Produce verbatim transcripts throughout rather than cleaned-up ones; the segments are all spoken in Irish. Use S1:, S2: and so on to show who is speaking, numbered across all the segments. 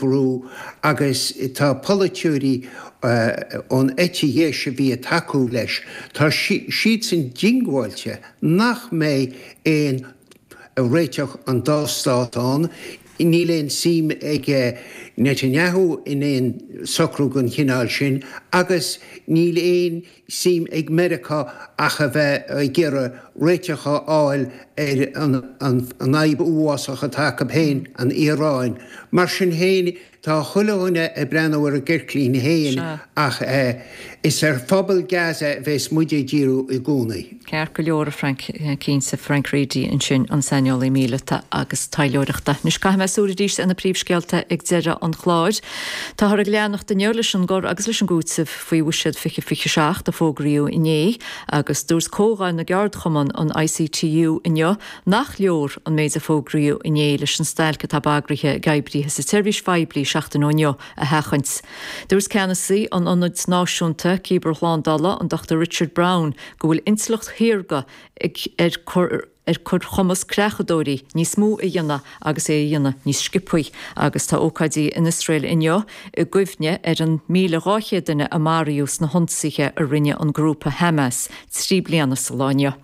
S1: brú agus tá polaiteoirí ón eite dheis a bhí ag tacú leis, tá siadsan diongbháilte nach mbeidh aon réiteach an dá stát ann. Níl aon suim ag Netanyahu in aon socrú den chineál sin agus níl aon suim ag Meiriceá ach a bheith ag iarraidh réiteach a fháil ar an fhadhb uafásach atá acu féin, an Iaráin. Mar sin féin, tá chuile dhuine ag breathnú ar a gceirtlín féin ach is ar phobal Gaza a bheas muid ag díriú i gcónaí.
S2: Ceart go leor, a Frank, cinnte, Frank Reidy ansin, an saineolaí míleata agus taidhleoireachta. Anois caithfidh mé súil arís ar na príomhscéalta ag deireadh an chláir. Táthar ag leanacht inniu leis an gcur agus leis an gcúiteamh faoi Bhuiséad fiche fiche seacht a fógraíodh inné agus dúirt Comhdháil na gCeardchumann, an I C T U, inniu nach leor an méid a fógraíodh inné leis an stailc atá bagraithe ag oibrithe sa tseirbhís phoiblí seachtain ó inniu a sheachaint. Dúirt ceannasaí an Ionaid Náisiúnta Cibearshlándála, an Dochtúir Richard Brown, go bhfuil intleacht shaorga ag ar cur ar cur chumas creachadóirí níos mó a dhéanamh agus é a dhéanamh níos sciobtha. Agus tá ócáidí in Iosrael inniu i gcuimhne ar an míle dhá chéad duine a maraíodh sna hionsaithe a rinne an grúpa Hamas trí bliana sa lá inniu.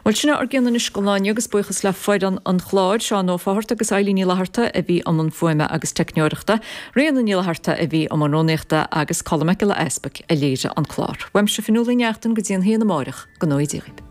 S2: Bhuel, sin ár gcion anois don lá inniu agus buíochas le foireann an chláir, Seán Ó Fátharta agus Eilín Ní Fhlatharta a bhí i mbun fuaime agus teicneoireachta, Ríona Ní Fhlatharta a bhí i mbun rúnaíochta agus Colm Mac Giolla Easpaig a léirigh an clár. Uaimse Fionnuala Ní Neachtain go dtí an haon amárach, go ngnóthaí Dia dhaoibh.